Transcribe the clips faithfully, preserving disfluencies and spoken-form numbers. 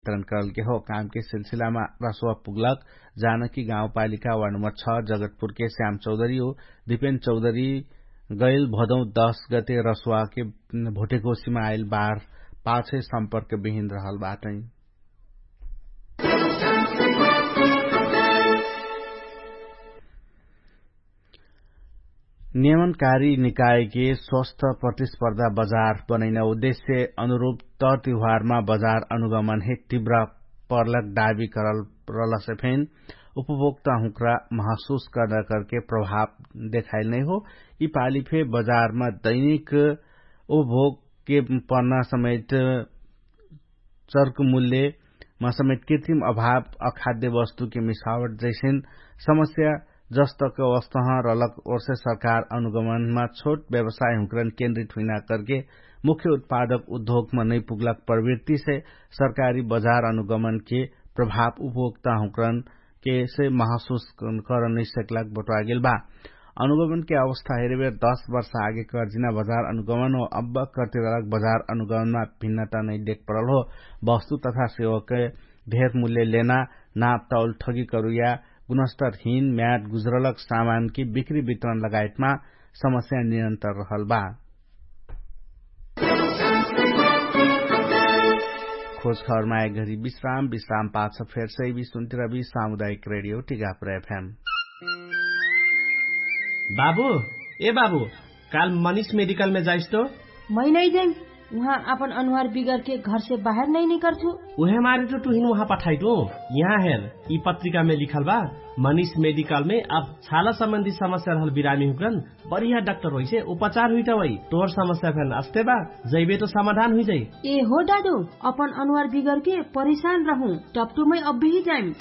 वितरण करलके हो। कामके सिलसिलामा रसुवा पुगलक जानकी गाउँपालिका वार्ड नम्बर छ जगतपुरके श्याम चौधरी हो दिपेन चौधरी गैल भदौ दश गते रसुवाके भोटेकोसीमा आइल बार पाछे सम्पर्क बिहिन रहल बाटै। नियमनकारी निकायके स्वस्थ प्रतिस्पर्धा बजार बनैना उद्देश्य अनुरूप तर तिहारमा बजार अनुगमन हे तिव्र पर्लक डाबी करल रहलसे फेन उपभोक्ता हुँक्रा महसुस कर्ना करके प्रभाव देखाइल नैहो। यि पाली फे बजारमा दैनिक उपभोगके पर्ना समेत चर्क मूल्यमा समेत कृत्रिम अभाव अखाद्य वस्तुके मिसावट जैसेन समस्या जस्तक अवस्थह रलक ओर्से सरकार अनुगमनमा छोट व्यवसाय हुँक्रन केन्द्रित हुइना करके मुख्य उत्पादक उद्योगमा नैपुग्लक प्रवृत्तिसे सरकारी बजार अनुगमनके प्रभाव उपभोक्ता हुँक्रन केसे महसुस करन नैसक्लाक बटुवागेल बा। अनुगमनके अवस्था हेरेबेर दश वर्ष आगे कर्जिना बजार अनुगमन हो अब्बा कर्तिरलक बजार अनुगमनमा भिन्नता नैदेख परल हो। वस्तु तथा सेवके ढेर मुल्य लेना नाप तौल ठगी करुया गुणस्तर हिन म्याट गुज्रलक सामानकी बिक्री वितरण लगायतमा समस्या निरन्तर रहल बा। खोज खबरमा एक घरी विश्राम विश्राम पाछ फेर सैवी सुन्तिरबी सामुदायिक रेडियो टिकापुर एफएम। बाबु, ए बाबु, काल मनिष मेडिकलमे जाइस तो? मै नै जाइम। उहाँ आपन अनुहार बिगरके घरसे बाहेर नै निकर्छु। उहे मारे तो टुहिन उहाँ पठाइटु। यहाँ हेर, यि पत्रिकामे लिखल बा, मनिष मेडिकलमे अब छाला सम्बन्धी समस्या रहल बिरामी हुकरन बढिया डाक्टर होइसे उपचार हुइटा वै। तोर समस्या फेन अस्ते बा, जैबे तो समाधान हुइजाइ। ए हो दादु, अपन अनुहार बिगरके परिशान रहु। टप्टुमै अब्बिही जाइम।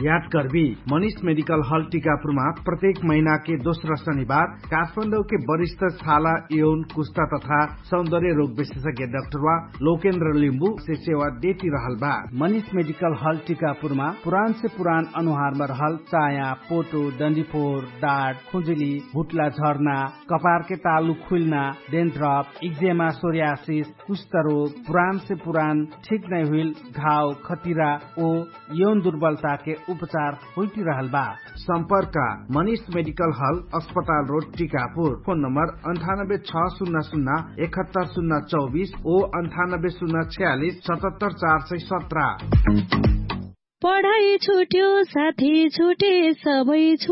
याद कर्बी, मनिष मेडिकल हल टिकापुरमा प्रत्येक महिनाके दोस्रा शनिबार काठमाडौके वरिष्ठ छाला यौन कुस्ता तथा सौन्दर्य रोग विशेषज्ञ डाक्टरवा लोकेन्द्र लिम्बु से सेवा देती रहल बा। मनिष मेडिकल हल टिकापुरमा पुरान से पुरान अनुहारमा रहल चाया, पोटो, डन्डीफोर, डाड, खुजुली, भुट्ला झर्ना, कपारके तालु खुइल्ना, डेन्ड्रप, इक्जेमा, सोर्यासिस, कुष्ठरोग, पुरान से पुरान ठिक नै हुइल घाव खतिरा ओ यौन दुर्बलताके उपचार होइटिरहल बा। सम्पर्क, मनिष मेडिकल हल, अस्पताल रोड, टिकापुर। फोन नम्बर अन्ठानब्बे छ सुन्ना सुन्ना एकहत्तर सुन्ना चौबिस ओ अन्ठानब्बे सुन्ना छ्यालिस सतहत्तर चार सय सत्र। पढाइ छुट्यो साथी छुटे सबै छु